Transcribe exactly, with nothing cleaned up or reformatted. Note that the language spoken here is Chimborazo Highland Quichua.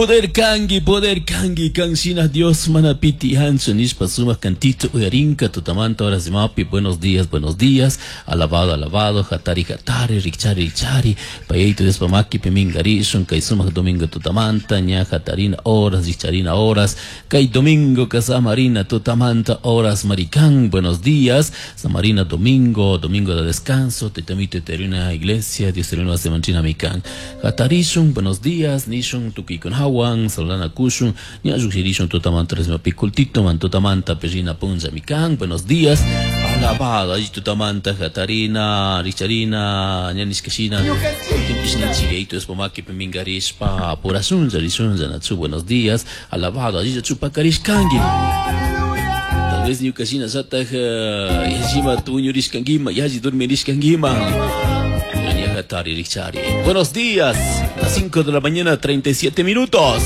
Poder kanki, poder kanki, kanshina Dios mana piti hanchu nishpa sumak cantito uyarinka tutamanta horas de mapi, buenos días, buenos días, alabado, alabado, hatari, hatari, rikchari, rikchari, payayto Dios pamaki pimingarishun, kay sumak domingo tutamanta, ña hatarina horas, rikcharina horas, kay domingo kasamarina tutamanta horas maricán, buenos días, samarina domingo, domingo de descanso, tetamito terina iglesia, Dios terina semanchina mikan, hatarishun, buenos días, nishun tukikun hawan, salana kushun, ña lluqshirishun tutamanta resmapi kultito, man tutamanta perina punlla mikan, buenos días, alabado, allí tutamanta hatarina, richarina, ña nishkashina, timpishnichigayto espomaki pimingarishpa, purasunlla, rishunlla, nachu, buenos días, alabado, allí chupakarishkanki. Tal vez ñukashina sataj yallima tuñurishkankima, yalli durmirishkankima. Hatari, Richari. Buenos días, las cinco de la mañana, treinta y siete minutos.